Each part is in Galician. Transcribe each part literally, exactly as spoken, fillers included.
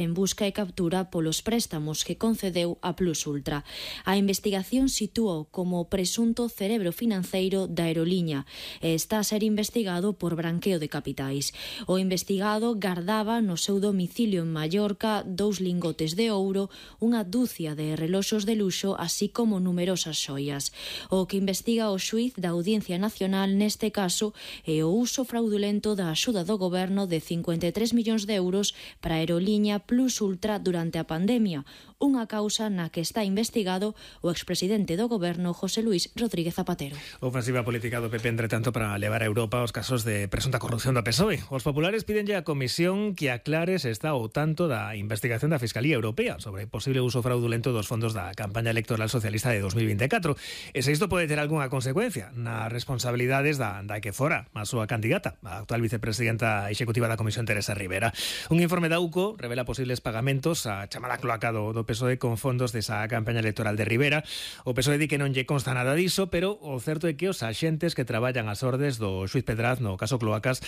en busca e captura polos préstamos que concedeu a Plus Ultra. A investigación sitúao como presunto cerebro financeiro da aeroliña e está a ser investigado por branqueo de capitais. O investigado gardaba no seu domicilio en Mallorca dous lingotes de ouro, unha dúcia de reloxos de luxo, así como numerosas xoias. O que investiga o xuíz da Audiencia Nacional neste caso é o uso fraudulento da axuda do goberno de cincuenta e tres millóns de euros para a aeroliña Plus Ultra durante a pandemia, unha causa na que está investigado o expresidente do goberno José Luis Rodríguez Zapatero. Ofensiva política do P P, entre tanto, para levar a Europa os casos de presunta corrupción do P S O E. Os populares pídenlle á Comisión que aclare se está ao tanto da investigación da Fiscalía Europea sobre posible uso fraudulento dos fondos da campaña electoral socialista de dos mil veinticuatro. E se isto pode ter algunha consecuencia nas responsabilidades da, da que fora a súa candidata, a actual vicepresidenta executiva da Comisión, Teresa Rivera. Un informe da U C O revela posibles pagamentos a chamada cloaca do, do P S O E con fondos desa campaña electoral de Rivera. O P S O E di que non lle consta nada diso, pero o certo é que os axentes que traballan ás ordes do xuíz Pedraz no caso Cloacas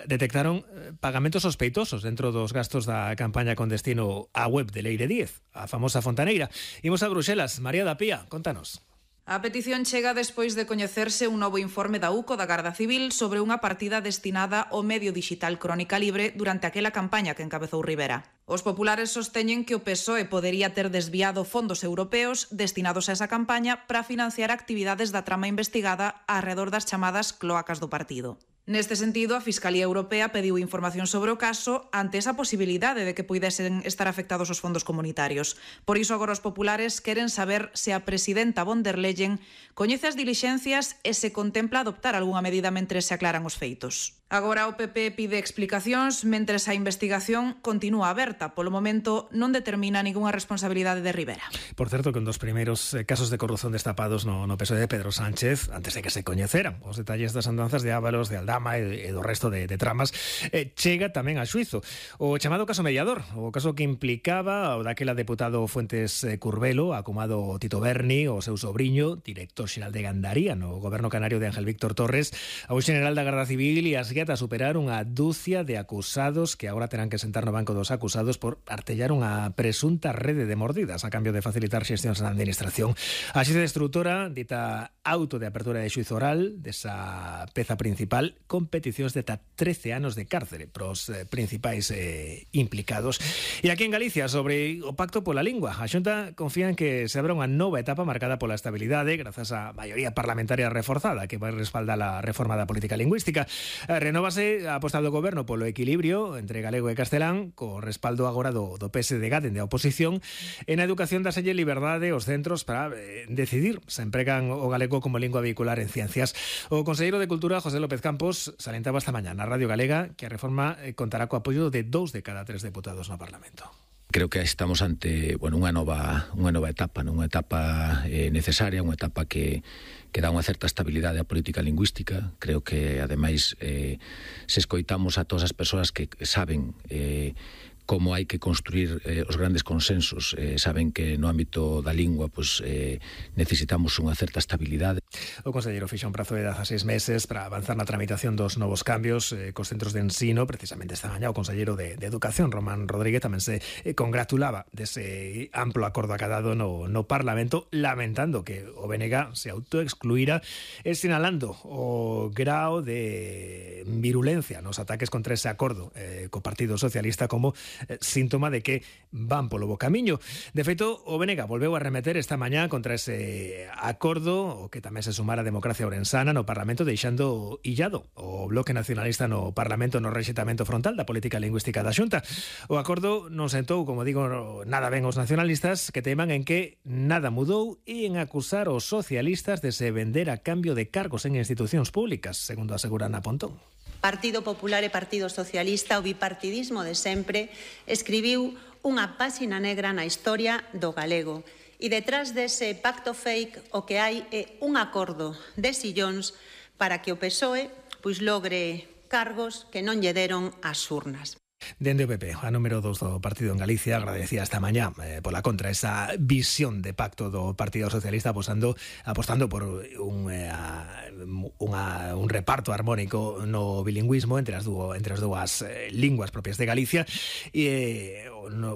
detectaron pagamentos sospeitosos dentro dos gastos da campaña con destino á web de Leire Díez, a famosa fontaneira. Imos a Bruxelas. María da Pía, contanos. A petición chega despois de coñecerse un novo informe da U C O da Garda Civil sobre unha partida destinada ao medio digital Crónica Libre durante aquela campaña que encabezou Rivera. Os populares sosteñen que o P S O E podería ter desviado fondos europeos destinados a esa campaña para financiar actividades da trama investigada arredor das chamadas cloacas do partido. Neste sentido, a Fiscalía Europea pediu información sobre o caso ante esa posibilidade de que puidesen estar afectados os fondos comunitarios. Por iso agora os populares queren saber se a presidenta von der Leyen coñece as dilixencias e se contempla adoptar algunha medida mentres se aclaran os feitos. Agora o P P pide explicacións mentres a investigación continúa aberta. Polo momento non determina ningunha responsabilidade de Rivera. Por certo, que un dos primeiros casos de corrupción destapados no, no P S O E de Pedro Sánchez, antes de que se coñeceran os detalles das andanzas de Ábalos, de Aldama e do resto de, de tramas, eh, chega tamén a xuizo o chamado caso Mediador, o caso que implicaba o daquela deputado Fuentes Curbelo, acumado Tito Berni, o seu sobriño, director xeral de Gandaría no goberno canario de Ángel Víctor Torres, ao xeneral da Garda Civil e as guiata a superar unha dúcia de acusados que agora terán que sentar no banco dos acusados por artellar unha presunta rede de mordidas a cambio de facilitar xestións na administración. A xuíza destrutora dita auto de apertura de xuízo oral desa peza principal con peticións de ata trece anos de cárcere pros eh, principais eh, implicados. E aquí en Galicia, sobre o pacto pola lingua, a Xunta confía en que se abra unha nova etapa marcada pola estabilidade grazas á maioría parlamentaria reforzada que vai respaldar a reforma da política lingüística. Renóvase a aposta do goberno polo equilibrio entre galego e castelán, co respaldo agora do, do P S D G dende a oposición. En a educación daselle liberdade aos centros para eh, decidir se empregan o galego como lingua vehicular en ciencias. O conselleiro de Cultura, José López Campos, salentaba esta mañá na Radio Galega que a reforma eh, contará co apoio de dous de cada tres deputados no Parlamento. Creo que estamos ante, bueno, unha nova unha nova etapa, non? Unha etapa eh, necesaria, unha etapa que que dá unha certa estabilidade á política lingüística. Creo que, ademais, eh, se escoitamos a todas as persoas que saben eh, como hai que construir eh, os grandes consensos, eh, saben que no ámbito da lingua pues, eh, necesitamos unha certa estabilidade. O conselleiro fixa un prazo de dezaseis meses para avanzar na tramitación dos novos cambios eh, cos centros de ensino. Precisamente esta mañá o conselleiro de, de Educación, Román Rodríguez, tamén se eh, congratulaba dese amplo acordo acadado no, no Parlamento, lamentando que o B N G se autoexcluíra e sinalando o grao de virulencia nos ataques contra ese acordo eh, co Partido Socialista como eh, síntoma de que van polo bo camiño. De feito, o B N G volveu a remeter esta mañá contra ese acordo, o que tamén se sumara a Democracia Ourensana no Parlamento, deixando illado o Bloque Nacionalista no Parlamento no rexeitamento frontal da política lingüística da Xunta. O acordo non sentou, como digo, nada ben os nacionalistas, que teman en que nada mudou e en acusar os socialistas de se vender a cambio de cargos en institucións públicas, segundo asegura Ana Pontón. Partido Popular e Partido Socialista, o bipartidismo de sempre, escribiu unha páxina negra na historia do galego. E detrás dese pacto fake o que hai é un acordo de sillóns para que o P S O E pois logre cargos que non lle deron as urnas. Dende o P P, a número dos do partido en Galicia, agradecía esta mañá eh, pola contra esa visión de pacto do Partido Socialista apostando, apostando por un, eh, unha, un reparto armónico no bilingüismo entre as, duo, entre as dúas eh, linguas propias de Galicia e eh, no